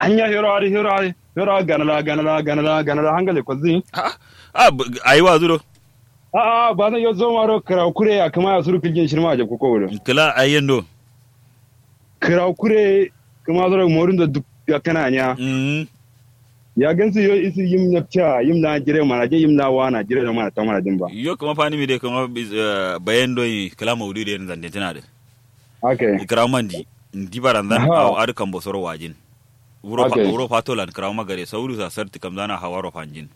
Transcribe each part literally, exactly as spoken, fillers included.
Anya hero adǝ hero adǝ hero adǝ ganala ganala ganala ganala hangale kwalzǝ. A'a a'a ayi wazu do. A'a ba zan yo zoma do kǝrawu kure ya kǝma ya suru kǝlgin shirma ajabku ko wudo. Kǝla ayi yendo. Kǝrawu kure kǝma soro morin do duk yakkana nya. Ya gansu yo isu yim nyapca yim la jire mana jin yim la wana jire do mana ta mana jin ba. Yo kǝma fanimi de kǝma bayan do kǝla maudu de zande tǝna de. Kǝrawu mandi ndi baranzan awo adǝ kambo soro wajin. Wuro fatolan kǝrawu magare saudu sa sartǝ kamzana hawaro fanjin.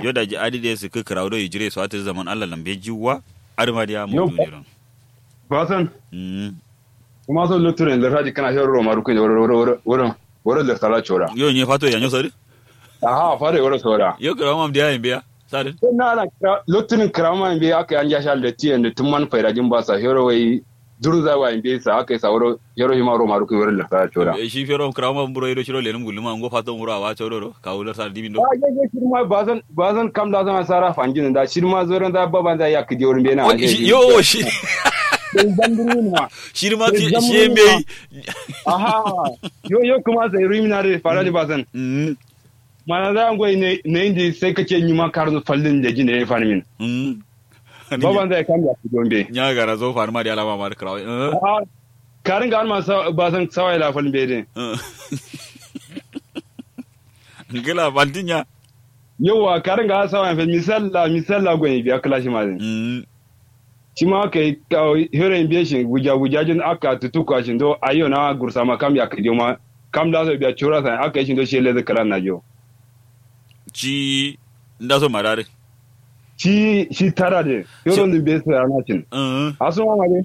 Yo daji adǝ de sǝkkǝ kǝrawu do yijire so atǝ zaman allah lambe jiwwa. Adǝ ma diya maudu de don. Basan. Kuma so lotturen lerta jikkana shero roma rukuye wuro wuro wuro wuro wuro lerta la cora. Yo nye fato yanyo sori. Aha fato wuro sora. Yo kǝrawu mam diya yimbe ya. Sadin. Lottunin kǝrawu ma yimbe aka yanja sha letti yende tun man faida jin basa shero wai. Durza wa yimbe sa aka yi sa wuro shero shima roma rukuye wuro lerta la cora. Shi shero kǝrawu ma buro yido shiro lenum gulluma ngo fato wuro awa coro do kawu lerta dimin do. Shirma bazan bazan kam da zan sara fanjin da shirma zoron da baban da ya kidi wurin bena. Yo shi. Shirma shi yimbe yi. Aha. Yo yo kuma sai ruimina da fara ni bazan. Mana za a ngoi na indi sai kace nyima karnu fallin da jin da ya fani min. Baban zai kam ya fi gombe nya gara zo fani ma da alama ma da karawa. Karin ga alma ba san sawa ila fallin bai din. Ngila bantinya. Yawa karin ga sawa ya fallin misalla misalla gwen biya kala shi ma din. Shima kai heroin be shin guja guja jin aka tutuka shin do ayo na gursa ma kam ya kadiyo ma kam da so biya chura sa aka shin do shi lezi kalan na jo. Shi nda so marare. Shi shi tara de heroin din be sa na shin. Aso ma de.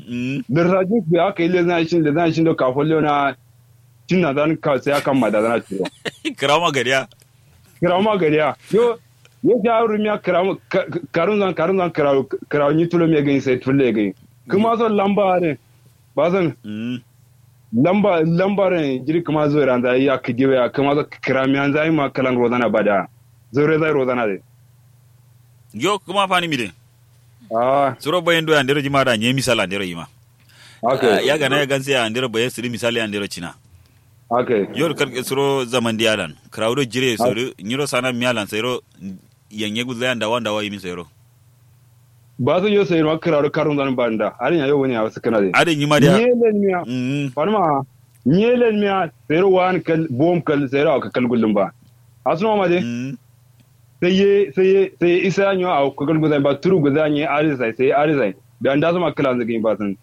Lersa jin be aka lezi na shin lezi na shin do ka follo na shin na dan ka sai aka ma da na chiro. Kirama gariya. Kǝrawu ma gadiya yo. Yo sha rumiya kǝrawu karun zan karun zan kǝrawu kǝrawu nyi tulo me gani sai tulle gani. Kǝma so lamba are. Ba zan lamba lamba re jiri kǝma zo ran zai ya kǝdiyo ya kǝma so kǝramiyan zai ma kalan rozana bada. Zo re zai rozana de. Yo kǝma fani mi de. Suro bayin do ya ndero jima da nye misala ndero yima. Ya gana ya ganse ya ndero bayin siri misali ya ndero cina. Yo da karke suro zaman diya lan kǝrawu do jire so du nyiro sana miya lan sairo. Yanye guzaya ndawa ndawa yimin sairo. Ba su yo sairo ma kǝrawu do karun zan ba nda adin ya yo wani ya wasu kana de adin yima diya. Nye len miya. Fanuma. Nye len miya sairo wa an kal bom kal sairo a kakal gullum ba. Asuma ma de. Sai ye sai ye sai ye isa nyo a kakal guzaya ba turu guzaya nye arisai sai arisai. Biya nda suma kǝla nzǝgǝ ba sun.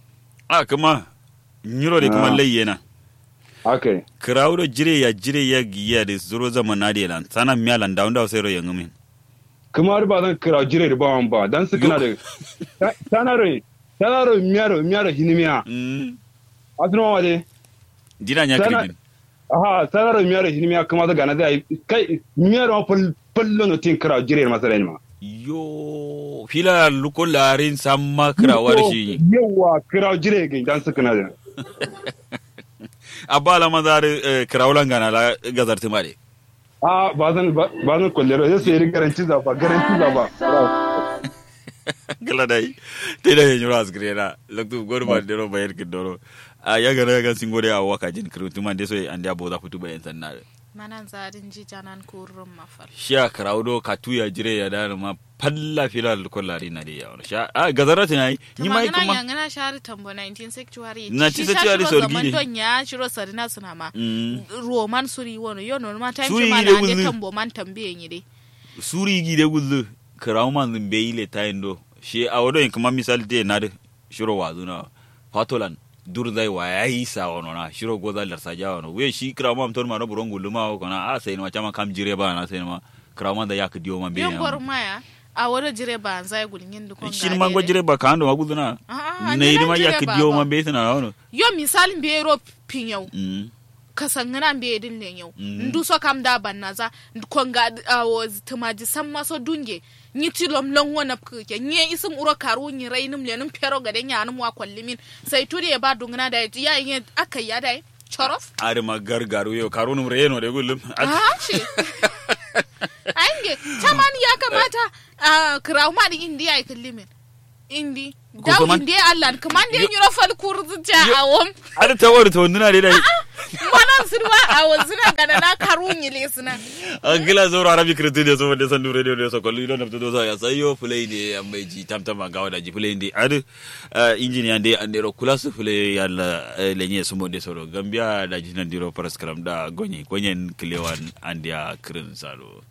A kǝma. Nyiro de kǝma lai yena. Kǝrawu do jire ya jire ya giya de suro zaman na de lan sana miya lan dawo dawo sai ro yangǝmin. Kǝma du ba zan kǝrawu jire de ba wan ba dan sǝkkǝna de. Sana ro sana ro miya ro miya ro hinimiya. Asǝnoma ma de. Dina nya kǝribin. Aha sana ro miya ro hinimiya kǝma so gana zai kai miya ro ma fal fallo no tin kǝrawu jire ma sarai ma. Yo fila lukko larin samma kǝrawu wari shi. Yawa kǝrawu jire gai dan sǝkkǝna de. Abba alama zari kǝrawu langana la gazartǝma de. A bazan bazan kollero yo sai ri garanti zaba garanti zaba. Gala dai. Te da ye nyura asgirena loktu godu ma dero bayer kidoro. A ya gana ya gan singo de a waka jin kru tuma de so ande abo za futu bayen sanna. Manan zadin ji janan kurrum mafal. Shiya karawo do katu ya jire ya da ma falla fila ko lari na de ya wani sha a gazara tana yi. Ni ma yi kuma yangana shari tambo nineteen sanctuary. Nineteen sanctuary so gidi. Don ya shiro sarina suna ma. Roman suri wono yo no ma time shi ma na de tambo man tambiye ni de. Suri gide gullu. Karawo man zumbe ile tayin do shi a wodo yin kuma misal de na de. Shiro wazuna fatolan. Dur zai wa ya yi sa wono na shiro goza larsa ja wono we shi kirawo man ton ma no buron gullu ma ko na a sai ma chama kam jire ba na sai ma. Kirawo man da yak diyo man be ya. Yo gorma ya. A wodo jire ba zai gulngin du kon. Shin man go jire ba ka ando ma gullu na. Nei di ma yak diyo man be sina wono. Yo misal be ro pinyau. Kasangana mbeyi dǝn lenyau. Nduso kam da bannaza. Konga awo tǝmaji samma so dunge. Nyi tilom longo napkǝ ke nyi ye isǝm wuro karu nyi rainǝm lenǝm fero gade nyanǝm wa kollimin. Sai tudu ye ba dungǝna dayi ya ye akaiya dayi. Corof. Adǝma gargaru yo karunǝm reno de gullum. Ashi. Ainge. Caman ya kamata. Kǝrawu ma dǝ indi yayi kǝllimin. Indi. Daudi nde allan kǝma nde nyiro fal kurǝ zǝcca awom. Adǝ tawar to nuna dai dai. Manan sǝdǝ ma awon sǝna gana na karu nyile sǝna. Angla zauro arabi kǝrǝtǝ nde so wande sandu radio nde so kollu ido nabtǝ do so ya sayo fǝlai nde amma ji tamtama gawo daji fǝlai nde adǝ. Injiniya nde andero kulasu fǝlai yalla. Lenye sǝmo nde soro gambiya daji nandiro paraskram da gonye gonyen kǝlewan andeya kǝrǝn salo.